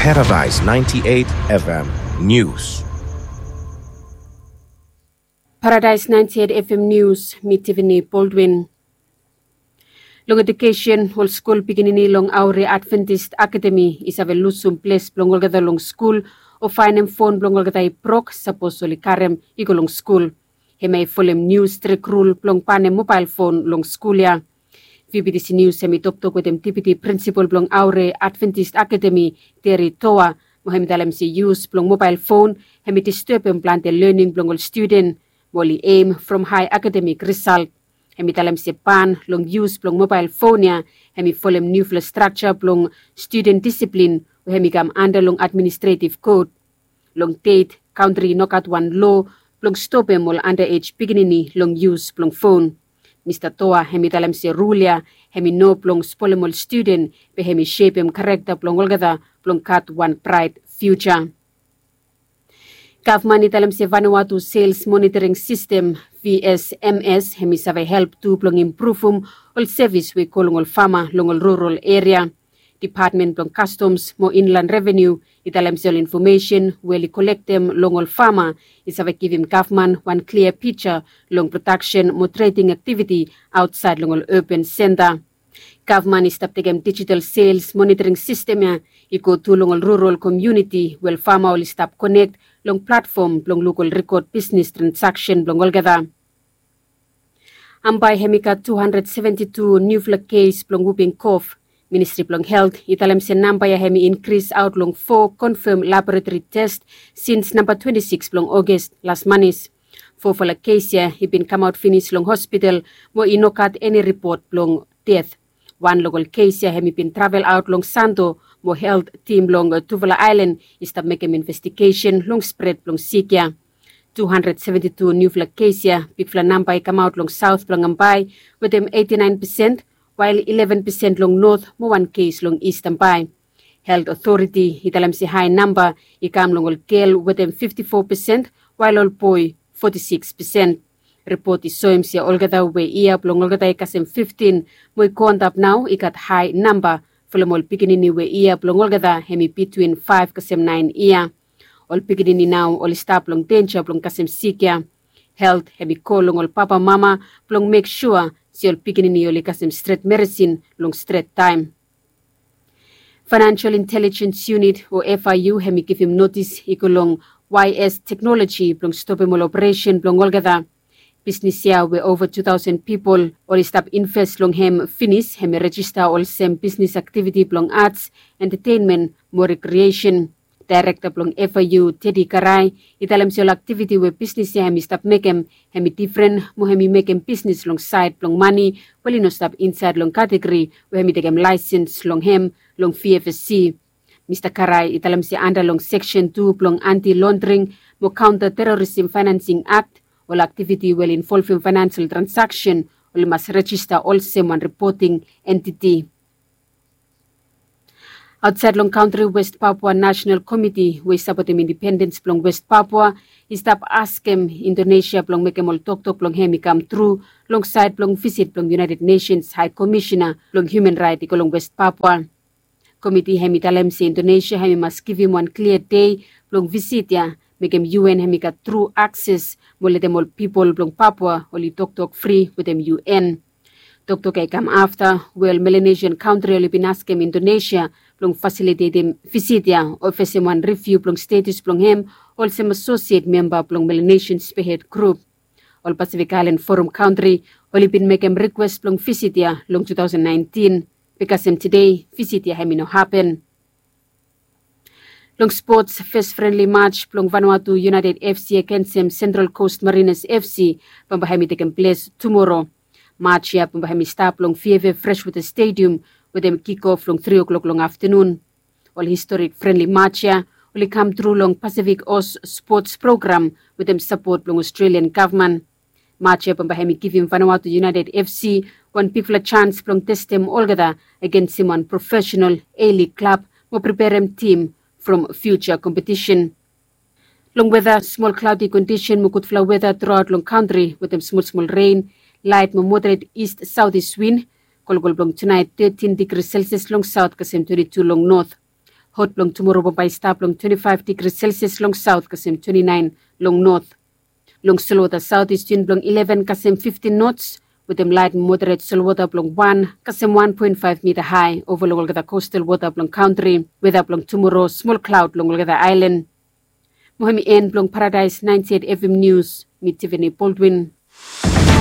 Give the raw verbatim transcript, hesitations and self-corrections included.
Paradise ninety-eight F M News. Paradise ninety-eight F M News, mi Tiffany Baldwin. Long edukesen, ol skul pikinini long Aure Adventist Academy i save lusum ples blong olgeta long skul o faenem fon blong olgeta i brok sapos oli karem i go long skul. Hemia i folem niu strik rul blong banem mobael fon long skul ya. V B T C News hemi toktok wetem Deputy Principal blong Aure Adventist Academy, Terry Toa, mo hemi talem se yus blong mobael fon hemi distebem plante lening blong ol studen, mo oli em from hae akademik risalt. Hemi talem se ban long yus blong mobael fon ya hemi folem niufala strakja blong studen disiplin we hemi kam anda long administretiv kot. Long det, kantri i nogat wan loa blong stopem ol anda ej pikinini long yus blong fon. Mista Toa hemi talem se rul ya hemi no blong spolem ol studen, be hemi sepem karekta blong olgeta blong gat wan braet fiuja. Gavman i talem se Vanuatu Sales Monitoring System, V S M S, hemi save help tu blong impruvum ol sevis we i go long ol fama long ol rural eria. Depatmen blong Kastoms mo Inland Revenu i talem se ol infomesen we oli kolektem long ol fama i save givim gavman wan klia pija long prodaksen mo trading aktiviti aotsaed long ol urban senta. Gavman i stap tekem dijital sales monitoring sistem ya i go tu long ol rural komuniti we ol fama oli stap konek long platfom blong luk ol rikod bisnis transaksen blong olgeta. Bambae hemi gat tu handred seventi tu niufala kes blong wuping kof. Ministri blong Helt i talem se namba ya hemi inkris aot long fo konfam laboratori tes sins namba twenti sikis blong Oges las manis. Fofala kes ya i bin kamaot finis long hospital mo i no gat eni ripot blong det. Wan long ol kes ya hemi bin travel aot long Santo mo helt tim long tufala aelan i stap mekem investigesen long spred blong sik ya. Tu handred seventi tu niufala kes ya, bigfala namba i kamaot long saot blong Bambae wetem eiti naen pesen, wael ileven pesen long not mo wan kes long Ist Bambae. Helt otoriti i talem se hae namba i kam long ol gel wetem fifti fo pesen, wael ol boe foti sikis pesen. Ripot i soem se olgeta we yia blong olgeta i kasem fiftin mo i go antap nao i gat hae namba, folem ol pikinini we yia blong olgeta hemi bitwin faef kasem naen yia. Ol pikinini nao oli stap long denja blong kasem sik ya. Helt hemi kol long ol papamama blong mek sua se ol pikinini oli kasem stret meresin long stret taem. Financial Intelligence Unit o F I U hemi givim notis i go long Y S Technology blong stopem ol operesen blong olgeta. Bisnis ya we ova tu taosen pipol oli stap inves long hem finis hemi rejista olsem bisnis aktiviti blong ats, entetenmen mo rekriesen. Daerekta blong F I U, Teddy Karai, i talem se ol aktiviti we bisnis ya hemi stap mekem hemi difren mo hemi mekem bisnis long saed blong mane we oli no stap insaed long kategori we hemi tekem laesens long hem long V F S C. Mista Karai i talem se anda long seksen tu blong Anti Londring mo Kaonta Terorism Faenansing Akt, ol aktiviti we oli involvem faenansel transaksen oli mas rejista olsem wan ripoting entiti. Aotsaed long kantri, West Papua National Committee we i sapotem indipendens blong West Papua i stap askem Indonesia blong mekem ol toktok blong hem i kam tru long saed blong visit blong United Nations Hae Komisena blong Human Raet i go long West Papua. Komiti hem i talem se Indonesia hem i mas givim wan klia dei blong visit ya, mekem U N hem i gat tru akses mo letem ol pipol blong Papua oli toktok fri wetem U N. Toktok ya i kam afta we ol Melanesian kantri oli bin askem Indonesia blong fasilitetem visit ya o fesem wan riviu blong status blong hem olsem asosiet memba blong Melanesian Spearhead Group. Ol Pacific Island Forum kantri oli bin mekem rikwes blong visit ya long tu taosen naentin. Be kasem tede, visit ya hem i no hapen. Long spots, fes frenli maj blong Vanuatu United F C agensem Central Coast Mariners F C bambae hem i tekem ples tumoro. Maj ya bambae hem i stap long Veve Freshwater Stadium wetem kikof long tri o'clock long aftenun. Ol historik frenli maj ya oli kam tru long Pacific Oz Spots Program wetem sapot blong Australian gavman. Maj ya bambae hem i givim Vanuatu United F C wan bigfala jans blong testem olgeta agensem wan profesenal A-League klab mo preperem tim from fiuja kompetisen. Long weta, smol klaodi kondisen mo gudfala weta truaot long kantri wetem smolsmol ren, laet mo moderet ist saotis win. Kolkol blong tunaet tetin digri Celsius long saot kasem twenti tu long not. Hot blong tumoro bambae i stap long twenti faef digri selsias long saot kasem twenti naen long not. Long solwota saot is win blong ileven kasem fiftin nots, wetem laet moderet solwota blong wan kasem wan poen faef mita hae ova long olgeta kostal wota blong kantri. Weta blong tumoro smol klaod long olgeta aelan. Mo hem i en blong paradaes naenti et evem nius. Mi tiveni boldwin.